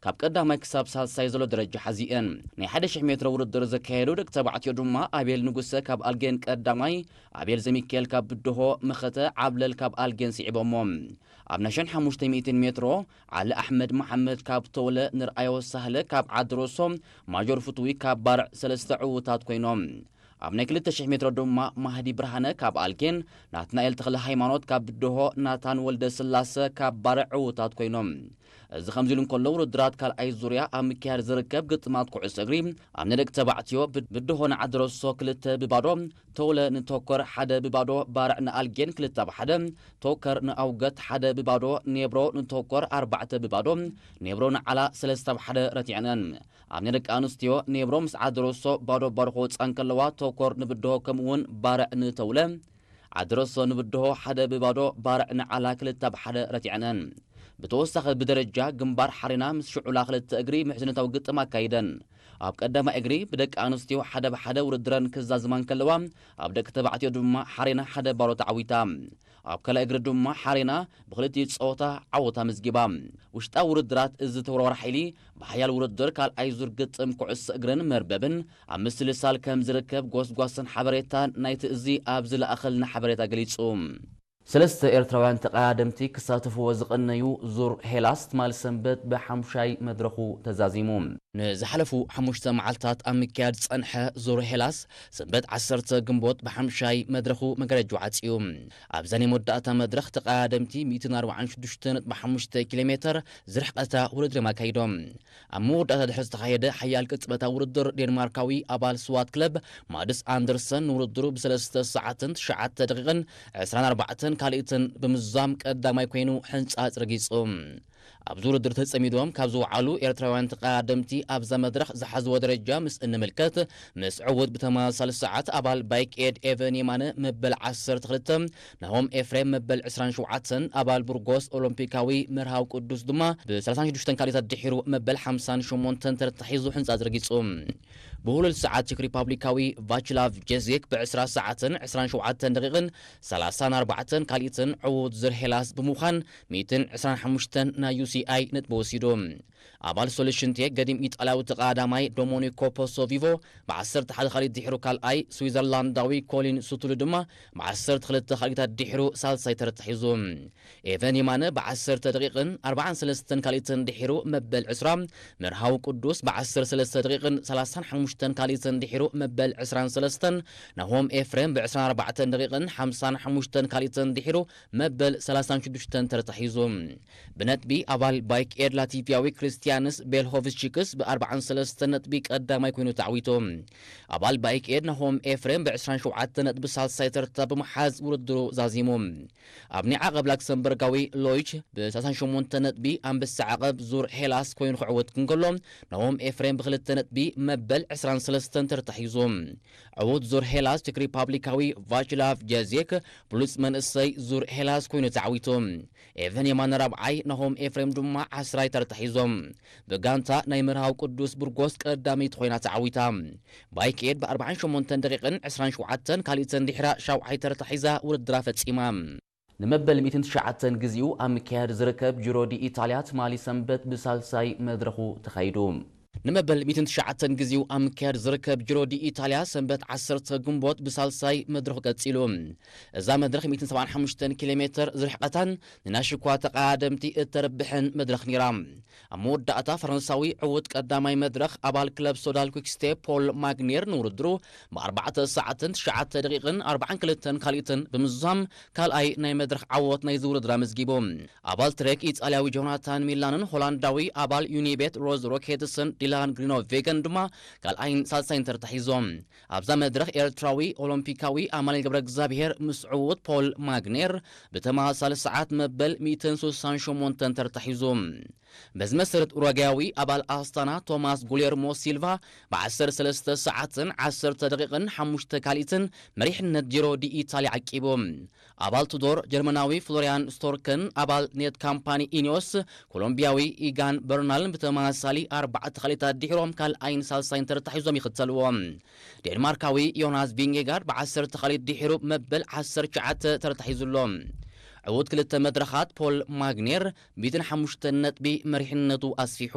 ካብ ቀዳማይ ክሳብ ሳልሳይ ዘሎ ደረጃ ሓዚኤን። ናይ ሓደ ሽሕ ሜትሮ ውድድር ዘካየዱ ደቂ ተባዕትዮ ድማ ኣቤል ንጉሰ ካብ ኣልጌን ቀዳማይ፣ ኣቤል ዘሚካኤል ካብ ብድሆ፣ መኸተ ዓብለል ካብ ኣልጌን ስዒቦሞ። ኣብ ናይ ሸን ሓሙሽተ ሚእትን ሜትሮ ዓሊ ኣሕመድ መሓመድ ካብ ተውለ፣ ንርኣዮ ሳህለ ካብ ዓድሮሶ፣ ማጆር ፍትዊ ካብ ባርዕ ሰለስተ ዕዉታት ኮይኖም። ኣብ ናይ ክልተ ሽሕ ሜትሮ ድማ ማህዲ ብርሃነ ካብ ኣልጌን፣ ናትናኤል ተኽለ ሃይማኖት ካብ ብድሆ፣ ናታን ወልደ ስላሰ ካብ ባርዕ ዕዉታት ኮይኖም። እዚ ከምዚ ኢሉ እንከሎ ውድድራት ካልኣይ ዙርያ ኣብ ምክያድ ዝርከብ ግጥማት ኩዕሶ እግሪ ኣብ ናይ ደቂ ተባዕትዮ ብድ-፣ ብድሆ ንዓድረሶ ክልተ ብባዶ፣ ተውለ ንቶከር ሓደ ብባዶ፣ ባርዕ ንኣልጌን ክልተ ኣብ ሓደ፣ ቶከር ንኣውገት ሓደ ብባዶ፣ ኔብሮ ንቶከር ኣርባዕተ ብባዶ፣ ኔብሮ ንዓላ ሰለስተ ኣብ ሓደ ረቲዐነን። ኣብ ናይ ደቂ ኣንስትዮ ኔብሮ ምስ ዓድረሶ ባዶ ባዶ ክወፅኣ እንከለዋ፣ ቶከር ንብድሆ ከምኡ እውን ባርዕ ንተውለ፣ ዓድረሶ ንብድሆ ሓደ ብባዶ፣ ባርዕ ንዓላ ክልተ ኣብ ሓደ ረቲዐነን። ብተወሳኺ ብደረጃ ግንባር ሓሬና ምስ ሽዑላ ክልተ እግሪ ምሕዝነታዊ ግጥም ኣካይደን። ኣብ ቀዳማይ እግሪ ብደቂ ኣንስትዮ ሓደ ብሓደ ውድድረን ክዛዝማ እንከለዋ፣ ኣብ ደቂ ተባዕትዮ ድማ ሓሬና ሓደ ባዶ ተዓዊታ። ኣብ ካልኣይ እግሪ ድማ ሓሬና ብክልቲኡ ጸወታ ዓወት ኣመዝጊባ። ውሽጣዊ ውድድራት እዚ ተወርዋሪ ሓይሊ ብሓያል ውድድር ካልኣይ ዙር ግጥም ኩዕሶ እግርን መርበብን ኣብ ምስልሳል ከም ዝርከብ ጎስጓስን ሓበሬታን ናይቲ እዚ ኣብ ዝለኣኸልና ሓበሬታ ገሊጹ። ሰለስተ ኤርትራውያን ተቐዳደምቲ ክሳተፍዎ ዝቐነዩ ዙር ሄላስ ትማል ሰንበት ብሓምሻይ መድረኹ ተዛዚሙ። ንዝሓለፉ ሓሙሽተ መዓልታት ኣብ ምክያድ ዝጸንሐ ዙር ሄላስ ሰንበት ዓሰርተ ግንቦት ብሓምሻይ መድረኹ መጋረጃ ዓጽዩ። ኣብዛ ናይ መወዳእታ መድረኽ ተቐዳደምቲ ሚእትን ኣርባዓን ሽዱሽተ ነጥቢ ሓሙሽተ ኪሎ ሜተር ዝርሕቐታ ውድድር እዮም ኣካይዶም። ኣብ መወዳእታ ድሕሪ ዝተኻየደ ሓያል ቅጽበታዊ ውድድር ዴንማርካዊ ኣባል ስዋት ክለብ ማድስ ኣንደርሰን ንውድድሩ ብሰለስተ ሰዓትን ትሽዓተ ደቂቕን ዕስራን ኣርባዕተን ካልኢትን ብምዝዛም ቀዳማይ ኮይኑ ሕንጻጽ ረጊጹ። ኣብዚ ውድድር ተጸሚዶም ካብ ዝወዓሉ ኤርትራውያን ተቐዳደምቲ ኣብዛ መድረኽ ዝሓዝዎ ደረጃ ምስ እንምልከት፣ ምስ ዕዉት ብተመሳሳሊ ሰዓት ኣባል ባይክ ኤድ ኤቨን የማነ መበል ዓሰርተ ክልተ፣ ናሆም ኤፍሬም መበል ዕስራን ሸውዓተን፣ ኣባል ቡርጎስ ኦሎምፒካዊ መርሃዊ ቅዱስ ድማ ብ ሰላሳን ሽዱሽተን ካልኢታት ድሒሩ መበል ሓምሳን ሸሞንተን ተርታ ሒዙ ሕንጻጽ ረጊጹ። ብህሉል ሰዓት ቼክ ሪፓብሊካዊ ቫችላቭ ጀዜክ ብ ዕስራ ሰዓትን ዕስራን ሸውዓተን ደቂቕን ሰላሳን ኣርባዕተን ካልኢትን ዕዉት ዙር ሄላስ ብምዃን ሚእትን ዕስራን ሓሙሽተን ናይ ዩ ሲ ኣይ ነጥቢ ወሲዱ። ኣባል ሶሉሽን ቴክ ገዲም ኢጣልያዊ ተቐዳዳማይ ዶሞኒኮ ፖሶ ቪቮ ብ ዓሰርተ ሓደ ካልኢት ድሒሩ ካልኣይ፣ ስዊዘርላንዳዊ ኮሊን ሱቱሉ ድማ ብ ዓሰርተ ክልተ ካልኢታት ድሒሩ ሳልሳይ ተርታ ሒዙ። ኤቨን የማነ ብ ዓሰርተ ደቂቕን ኣርባዓን ሰለስተን ካልኢትን ድሒሩ መበል ዕስራ፣ መርሃዊ ቅዱስ ብ ዓሰርተ ሰለስተ ደቂቕን ሰላሳን ሓሙሽተን ካልኢትን ድሒሩ መበል ዕስራን ሰለስተን፣ ናሆም ኤፍሬም ብ ዕስራን ኣርባዕተን ደቂቕን ሓምሳን ሓሙሽተን ካልኢትን ድሒሩ መበል ሰላሳን ሽዱሽተን ተርታ ሒዙ። ብነጥቢ ኣባል ባይክ ኤድ ላቲቪያዊ ክርስቲያንስ ቤልሆቭስቺክስ ብ ኣርባዓን ሰለስተን ነጥቢ ቀዳማይ ኮይኑ ተዓዊቱ። ኣባል ባይክ ኤድ ናሆም ኤፍሬም ብ ዕስራን ሸውዓተን ነጥቢ ሳልሳይ ተርታ ብምሓዝ ውድድሩ ዛዚሙ። ኣብ ናይ ዓቐብ ላክሰምበርጋዊ ሎይች ብ ሰላሳን ሸሞንተን ነጥቢ ኣንበሳ ዓቐብ ዙር ሄላስ ኮይኑ ክዕወት እንከሎ፣ ናሆም ኤፍሬም ብክልተ ነጥቢ መበል ዕስራን ሰለስተን ተርታ ሒዙ። ዕዉት ዙር ሄላስ ቼክ ሪፓብሊካዊ ቫችላቭ ጀዜክ ብሉጽ መንእሰይ ዙር ሄላስ ኮይኑ ተዓዊቱ። ኤቨን የማነ ራብዓይ፣ ናሆም ኤፍሬም ድማ ዓስራይ ተርታ ሒዞም። ብጋንታ ናይ መርሃዊ ቅዱስ ቡርጎስ ቀዳመይቲ ኮይና ተዓዊታ። ባይክ ኤድ ብ ኣርባዓን ሸሞንተን ደቂቕን ዕስራን ሸውዓተን ካልኢተን ድሕራ ሻውዓይ ተርታ ሒዛ ውድድራ ፈጺማ። ንመበል ሚእትን ትሽዓተን ግዜኡ ኣብ ምክያድ ዝርከብ ጂሮ ዲ ኢታልያ ትማሊ ሰንበት ብሳልሳይ መድረኹ ተኻይዱ። ንመበል ሚእትን ትሽዓተን ግዜኡ ኣብ ምክያድ ዝርከብ ጂሮ ዲ ኢታልያ ሰንበት ዓሰርተ ግንቦት ብሳልሳይ መድረኹ ቀጺሉ። እዛ መድረኽ ሚእትን ሰብዓን ሓሙሽተን ኪሎ ሜተር ዝርሕቐታን ንናሽኳ ተቐዳደምቲ እተርብሕን መድረኽ ነይራ። ኣብ መወዳእታ ፈረንሳዊ ዕዉት ቀዳማይ መድረኽ ኣባል ክለብ ሶዳል ኩክስቴፕ ፖል ማግኔር ንውድድሩ ብኣርባዕተ ሰዓትን ትሽዓተ ደቂቕን ኣርባዓን ክልተን ካልኢትን ብምዝዛም ካልኣይ ናይ መድረኽ ዓወት ናይዚ ውድድር ኣመዝጊቡ። ኣባል ትሬክ ኢጣልያዊ ጆናታን ሚላንን ሆላንዳዊ ኣባል ዩኒቤት ሮዝ ሮኬትስን ዲላን ግሪኖቬገን ድማ ካልኣይን ሳልሳይን ተርታ ሒዞም። ኣብዛ መድረኽ ኤርትራዊ ኦሎምፒካዊ ኣማኑኤል ገብረ እግዚኣብሔር ምስ ዕዉት ፖል ማግኔር ብተመሳሳሊ ሰዓት መበል ሚእትን ስሳን ሸሞንተን ተርታ ሒዙ። በዚ መሰረት ኡራጋያዊ ኣባል ኣስታና ቶማስ ጉሌርሞ ሲልቫ ብ ዓሰርተ ሰለስተ ሰዓትን ዓሰርተ ደቂቕን ሓሙሽተ ካልኢትን መሪሕነት ጂሮ ዲ ኢታልያ ዓቂቡ። ኣባል ቱዶር ጀርመናዊ ፍሎሪያን ስቶርከን ኣባል ኔት ካምፓኒ ኢኒዮስ ኮሎምቢያዊ ኢጋን በርናልን ብተመሳሳሊ ኣርባዕተ ካልኢታት ድሒሮም ካልኣይን ሳልሳይን ተርታ ሒዞም ይኽተልዎ። ዴንማርካዊ ዮናስ ቪንጌጋርድ ብ ዓሰርተ ካልኢት ድሒሩ መበል ዓሰርተ ትሽዓተ ተርታ ሒዙ ኣሎ። ዕዉት ክልተ መድረኻት ፖል ማግኔር ሚእትን ሓሙሽተን ነጥቢ መሪሕነቱ ኣስፊሑ።